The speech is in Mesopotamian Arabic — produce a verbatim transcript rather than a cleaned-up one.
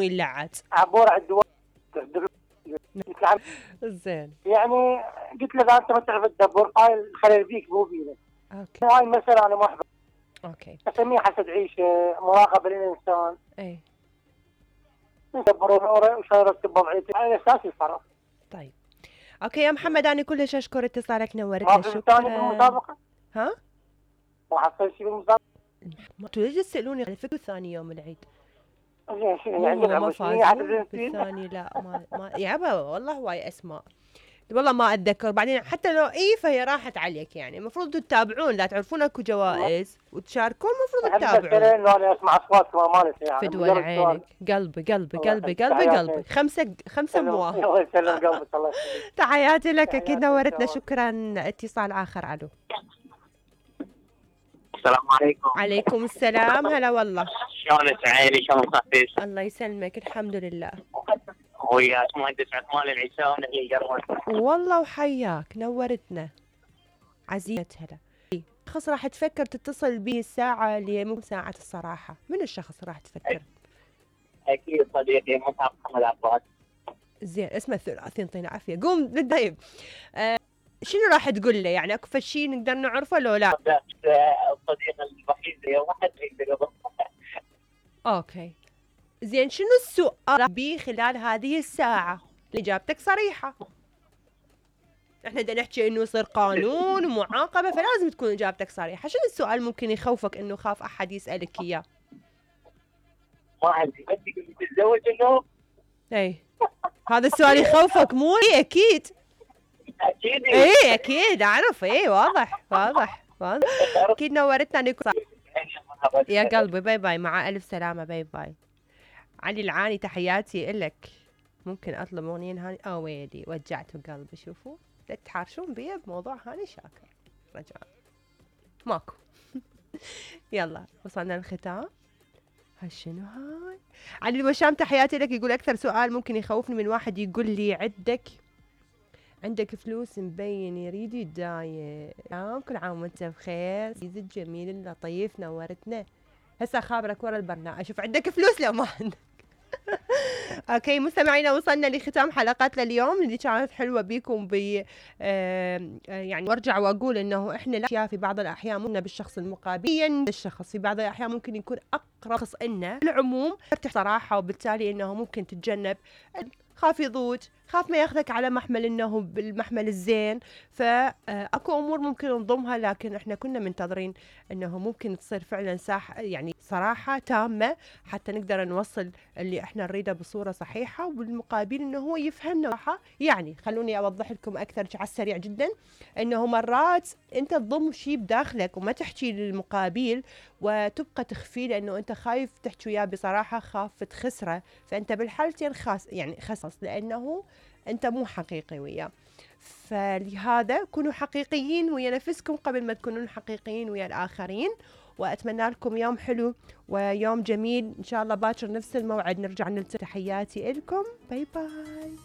يلعت عبور على الدول. زين. يعني قلت له اذا انت ما تعرف تدبر هاي الخلل بيك مو بينا. اوكي. هاي المسألة انا ما احبها. اوكي. اسميها حسد عيشه، مراقبه للانسان. اي. ندبر اموره وشلون يرتب وضعيته على اساس يتصرف. طيب. اوكي يا محمد، انا كلش اشكر اتصالك، نورتنا. ما في ثاني بالمسابقه؟ ها؟ ما حصل شيء بالمسابقه؟ انتوا ليش تسالوني على فكره ثاني يوم العيد؟ زين شنو مو عندك هو ما عشرين فازوا بالثاني؟ لا ما ما يابا والله هواي اسماء والله ما اتذكر. بعدين حتى لو اي فهي راحت عليك، يعني المفروض تتابعون، لا تعرفون اكو جوائز وتشاركون، المفروض تتابعون. انه انا اسمع اصواتكم ما مالتي يعني. فدوى عينك، قلبي قلبي قلبي قلبي قلبي خمسه خمسه موا. الله يسلم قلبك. الله يسلمك. تحياتي لك، اكيد نورتنا. شكرا. اتصال اخر. الو. السلام عليكم. عليكم السلام. هلا والله. شلونك عيني؟ شلون صحتك؟ الله يسلمك، الحمد لله. وياك مهندس عثمان العيساوي هي قربت. والله وحياك، نورتنا عزيزة. هلا. شخص راح تفكر تتصل بي الساعة اللي مو ساعة الصراحة، من الشخص راح تفكر؟ أكيد صديقي مصعب محمد عباس. زين، اسمه الثلاثي، يعطينا عافية. قوم بالدايب. آه شنو راح تقول له؟ يعني اكو شيء نقدر نعرفه لو لا؟ الصديق الوحيد اللي واحد يقدر. اوكي. زين، شنو السؤال بي خلال هذه الساعة؟ اجابتك صريحة. احنا بدنا نحكي انه يصير قانون ومعاقبة، فلازم تكون اجابتك صريحة. شنو السؤال ممكن يخوفك انه خاف احد يسألك اياه؟ ما عندي، بس تقول لي تتزوج انه؟ اي. هذا السؤال يخوفك مو؟ اي اكيد. اكيد. اي اكيد اعرف. اي واضح واضح واضح. اكيد نورتنا نكون. يا قلبي باي باي، مع الف سلامة. باي باي. علي العاني، تحياتي إلك. ممكن اطلب اغنية هاني؟ اه ويلي وجعتوا قلبي. شوفوا لا تحارشون بيا بموضوع هاني شاكر. رجاء ماكو. يلا وصلنا للختام. هالشنو هاي؟ علي الوشام، تحياتي لك. يقول اكثر سؤال ممكن يخوفني من واحد يقول لي عندك عندك فلوس مبين يريد يتداين. عام كل عام وانت بخير سيدي الجميل اللطيف، نورتنا. هسه خابرك ورا البرنامج اشوف عندك فلوس لو ما عندك. اوكي مستمعينا، وصلنا لختام حلقتنا اليوم اللي كانت حلوه بيكم ب آه يعني. وارجع واقول انه احنا لا في بعض الاحيان منا بالشخص المقابل، الشخص في بعض الاحيان ممكن يكون اقرب شخص لنا. العموم صراحه، وبالتالي انه ممكن تتجنب. خاف يضوج، خاف ما ياخذك على محمل انه بالمحمل الزين، فاكو امور ممكن نضمها، لكن احنا كنا منتظرين انه ممكن تصير فعلا ساحه يعني صراحه تامه حتى نقدر نوصل اللي احنا نريده بصوره صحيحه، وبالمقابل انه هو يفهمنا صراحه. يعني خلوني اوضح لكم اكثر على السريع جدا، انه مرات انت تضم شيء بداخلك وما تحكي للمقابل وتبقى تخفيه لانه انت خايف تحكي وياه بصراحه، خاف تخسره، فانت بالحالتين خاص يعني خصص لانه انت مو حقيقي وياه. فلهذا كونوا حقيقيين ويا نفسكم قبل ما تكونون حقيقيين ويا الاخرين. واتمنى لكم يوم حلو ويوم جميل ان شاء الله. باكر نفس الموعد نرجع نلتقي. تحياتي لكم. باي باي.